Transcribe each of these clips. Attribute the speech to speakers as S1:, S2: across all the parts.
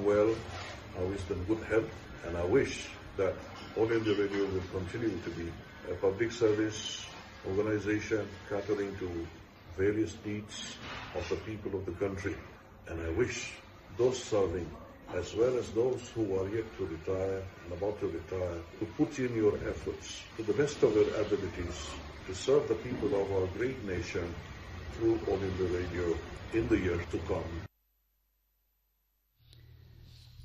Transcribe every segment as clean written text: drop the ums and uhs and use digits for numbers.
S1: well. I wish them good health and I wish that All India Radio will continue to be a public service organization catering to various needs of the people of the country. And I wish those serving as well as those who are yet to retire and about to retire to put in your efforts to the best of your abilities to serve the people of our great nation through All India Radio in the years to come.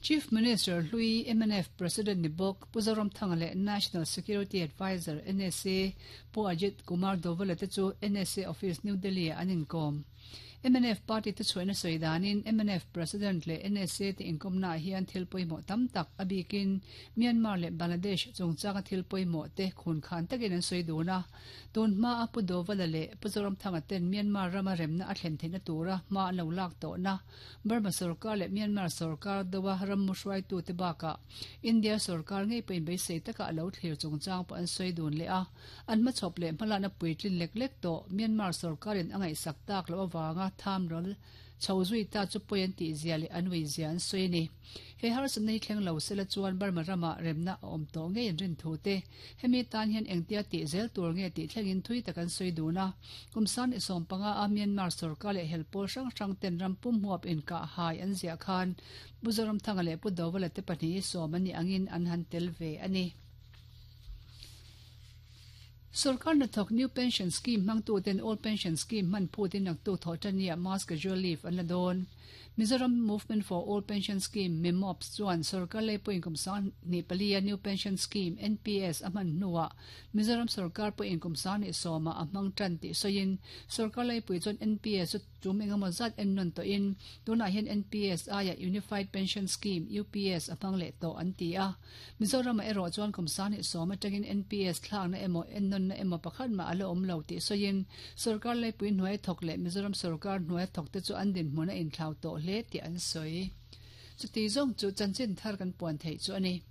S2: Chief Minister hlui mnf President ni bawk Pu Zoramthanga leh National Security Adviser, NSA, Pu Ajit Kumar Doval-a te chu NSA Office New Delhi-ah an inkawm. Mnf party te chhuahna sawi danin mnf President leh NSA te inkawmnaah hian thil pawimawh tam tak a bikin Myanmar leh Bangladesh chungchanga thil pawimawh te khunkhan takin an sawi dun a. Tun hmaa Pu Dovala leh Pu Zoramthanga ten Myanmar rama remna a thlen theihna tura hma an lo lak tawhna Burma sorkar leh Myanmar sorkar doa rammu hruaitute bakah India sorkar ngei pawhin beisei taka a lo thlir chungchang pawh an sawi dun leh a. An hmachhawp leh hmalakna puitlin lek lek tawh Myanmar sorkarin a ngaihsak tak loh avanga thamral chho zui ta chu pawi an tih zia leh an ui zia an sawi a ni. He harsatna hi thleng lo sela chuan Burma ramah remna a awm tawh ngei an rin thu te, hemi tan hian engtia tih zel tur nge tih thlengin thui tak an sawi dun a. Kum san i 15 a Myanmar sorkar leh hel pawl hrang hrang ten ram pum huap inkah hai an ziah khan Pu Zoramthanga leh Pu Dovala te pahnih hi sawm an nih angin an han tel ve a ni. Sorkar hnathawk New Pension Scheme hmangtuten Old Pension Scheme hman phutin naktuk thawh tania Mass Casual Leave an la dawn. Mizoram Movement for Old Pension Scheme, MIMOPS, chuan sorkar lei pawhin kum 24 a New Pension Scheme, NPS, a hman hnuah Mizoram sorkar pawhin kum 21 ah a hmang tan tih sawiin sorkar leipui chuan NPS chu tum engemaw zat en nawn tawhin tunah hian NPS aiah Unified Pension Scheme, UPS, a hmang leh tawh an ti a. Mizoramah erawh chuan kum 21 atangin NPS thlakna emaw ennawnna emaw pakhat mah a la awm lo tih sawiin sorkar leipui hnuaia thawk leh Mizoram sorkar hnuaia thawkte chu an dinhmun a inthlau tawh hle tih an sawi. Chuti zawng chu chanchin thar kan puan theih chu a ni.